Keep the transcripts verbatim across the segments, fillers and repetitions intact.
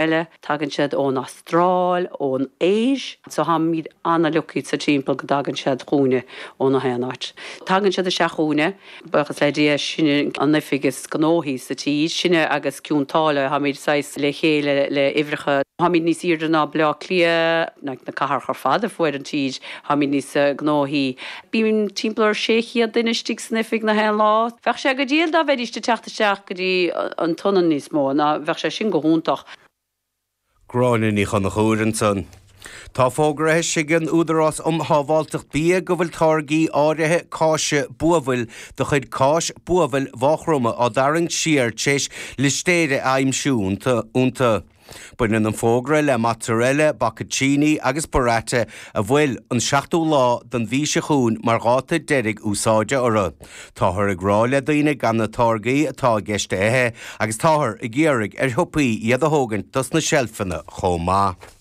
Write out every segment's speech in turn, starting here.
eile, tagann siad ón Astráil, ón Áis, so táimid an-lucky sa timpeall go dtagann siad chugainne ó na haon áit. Tagann siad isteach chugainne, buíochas le Dia sinne an oifig is gnóthaí sa tír, sinne agus Cionn tSáile táimid saghas le chéile le huimhreacha. Táimid níos airde ná Baile Átha Cliath na na cathracha ar fad ar fuaid an tír, táimid níos gnóthaí. Bíonn timpeall ar sé chéad duine istigh san oifig na haon lá. Bheadh sé go diail dá bheidís ag teacht isteach go dtí an t-ionad níos mó ná bheadh sé sin go hiontach. Gráinne Ní Chonchúir ansan. Tá fógraithe ag an Údarás um Shábháilteacht Bia go bhfuil táirgí áirithe cáise buabhaill de chuid cáis buabhaill Mhaigh Chromtha á dtarraingt siar tar éis listéire a aimsiú iontu. Baineann an fógra le mozzarella, bocconcini agus burrata a bhfuil an seachtú lá den mhí seo chugainn mar dháta deiridh úsáide orthu. Táthar ag rá le daoine gan na táirgí atá i gceist a ithe agus táthar ag iarraidh ar shiopaí iad a thógaint dos na seilfeanna chomh maith.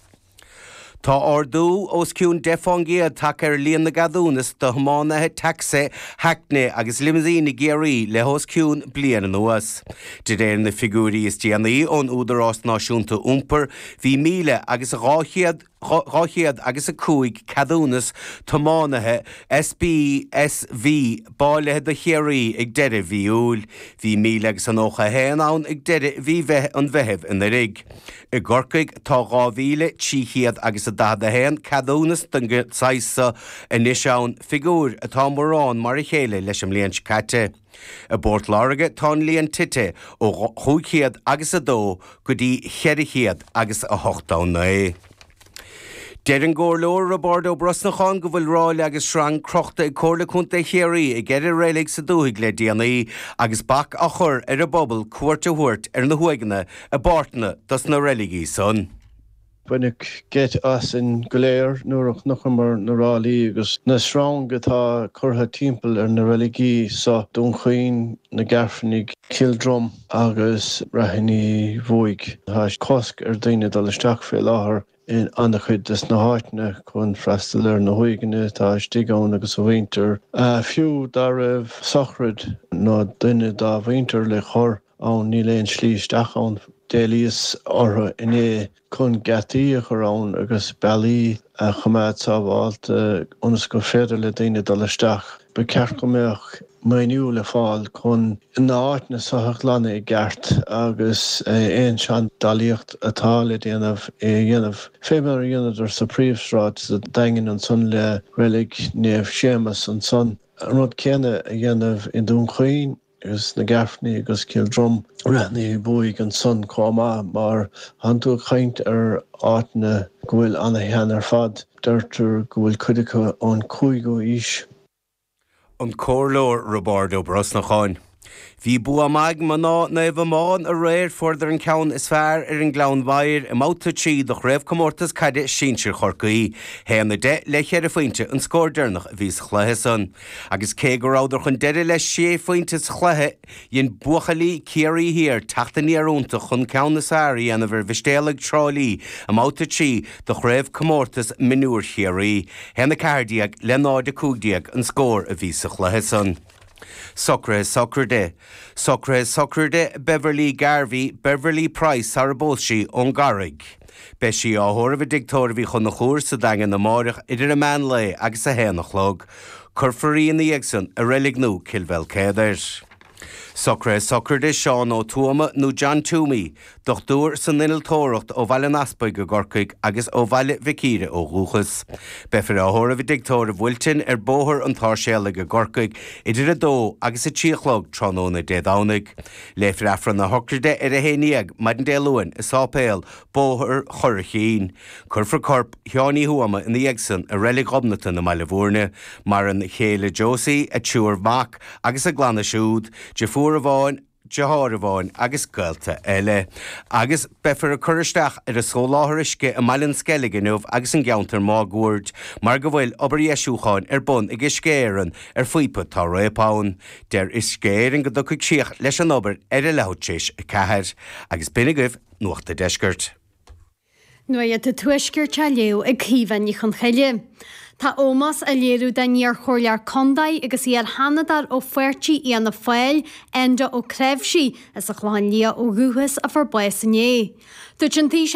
Tá ardú os cionn deich faoin gcéad tagtha ar líon na gceadúnas do thiománaithe tacsaí, hackney agus limousine i gCiarraí le hos cionn bliain anuas. De réir na figiúirí is déanaí ón Údarás Náisiúnta Iompair bhí míle agus dhá chéad dhá chéad agus a cúig ceadúnas tiománaithe SPSV bailithe do Chiarraí ag deireadh mhí Iúil. Bhí míle agus an nócha haon ann ag deireadh mhí an Mheithimh anuraidh. I gCorcaigh tá dhá mhíle trí chéad agus a daichead a haon ceadúnas den saghas seo anois ann figiúr atá mórán mar a chéile leis an mbliain seo caite. I bPort Láirge tá an líon tite ó chúig chéad agus a dó go dtí ceithre chéad agus a hocht a naoi. Deir an Comhairleoir Roibeárd Ó Brosnacháin go bhfuil ráille agus sreang crochta ag Comhairle Contae Chiarraí i gceithre reilig sa dúthaigh le déanaí agus bac á chur ar an bpobal cuairt a thabhairt ar na huaigheanna i bpáirteanna dos na reiligí san. Baineadh geit asainn go léir nuair a chonaiceamar na ráillí agus na sreang atá curtha timpeall ar na reiligí so Dún Chaoin, na Gairfeanaigh, Cill Drom agus Raithin Uí Bhuaigh. Tá cosc ar daoine dul isteach fé láthair in an-chuid des na háiteanna chun freastal ar na huaigheanna atá istigh ann agus a mhuintir. Fiú dá raibh sochraid nó duine dá mhuintir le cur ann níl aon slí isteach ann. D'éilíos orthu inné chun geataí a chur ann agus bealaí a choimeád sábháilte ionas gur féidir le daoine dul isteach. Ba cheart go mbeadh maoiniú le fáil chun na háiteanna seo a ghlanadh i gceart agus aon seandálaíocht atá le déanamh é a dhéanamh. Fé mar a dhéanadar sa príomhshráid sa Daingean ansan le reilig Naomh Séamus ansan. An rud céanna a dhéanamh i nDún Chaoin agus na Gairfeanaigh agus Cill Drom Raithin Uí Bhuaigh ansan chomh maith mar tánn tú ag caint ar áiteanna go bhfuil ana-shean ar fad. Deirtear go bhfuil cuid acu ón cúigiú haois. An Comhairleoir Roibeárd Ó Brosnacháin. Bhí bua maith ag mná Naomh Amáin aréir fuaireadar an ceann is fearr ar an gClann Mhaighir i mbabhta trí de chraobhchomórtas caide sinsir Chorcaí. Haon a deich le ceithre phointe an scór deireanach a bhí sa chluiche san. Agus cé go rabhadar chun deiridh le sé phointe sa chluiche, dhein buachaillí Ciarraí Thiar teacht aniar iontach chun ceann is fearr a dhéanamh ar Mhistéalaigh Trá Lí i mbabhta trí de chraobhchomórtas mionúir Chiarraí. Haon a ceathair déag le náid a cúig déag an scór a bhí sa chluiche san. Socruithe sochraide. Socruithe sochraide Beverly Garvey, Beverly Price sara bpós sí ón gCarraig. Beidh sí á thórramh i dtigh tórraimh Uí Chonchúir sa Daingean amárach idir an meán lae agus a haon a chlog. Cuirfear í ina dhiaidh san i reilig nua Cill Bhéal Socruithe sochraide Seán Ó Tuama nó John Toomey, dochtúir san innealtóireacht ó Bhaile an Easpaig i gCorcaigh agus ó Bhaile Mhic Íre ó dhúchas. Beifear á thórramh i dtigh tórraimh Wilton ar Bhóthar an tSáirséalaigh i gCorcaigh idir a dó agus a trí a chlog tráthnóna Dé Domhnaigh. Léifear Aifreann na sochraide ar a haon déag maidin Dé Luain i Sáipéal Bóthar Churraichín. Cuirfear corp Sheáin Uí Thuama ina dhiaidh san i reilig Ghobnatan i mBaile Bhúirne, maireann a chéile Josie, a triúr mac agus a gclanna siúd, deirfiúr amháin, deartháir amháin agus gaolta eile. Agus beifear ag cur isteach ar an soláthar uisce i mBaile an Sceilg inniu agus an gceantar máguaird, mar go bhfuil obair dheisiúcháin ar bun ag Uisce Éireann ar phíopa atá réabtha ann. Deir Uisce Éireann go dtiocfaidh críoch leis an obair ar a leathuair tar éis a ceathair. Agus b'in agaibh Nuacht an Deiscirt. Nuacht an Tuaiscirt á léamh ag Caoimhe Ní Chonchoille. Tá ómós á léiriú don iarchomhairleoir contae agus iar-sheanadóir ó pháirtí Fhianna Fáil, Enda Ó Cnáimhsí, as an Chlochán Liath ó dhúchas a fuair bás inné. Dúirt an Taoiseach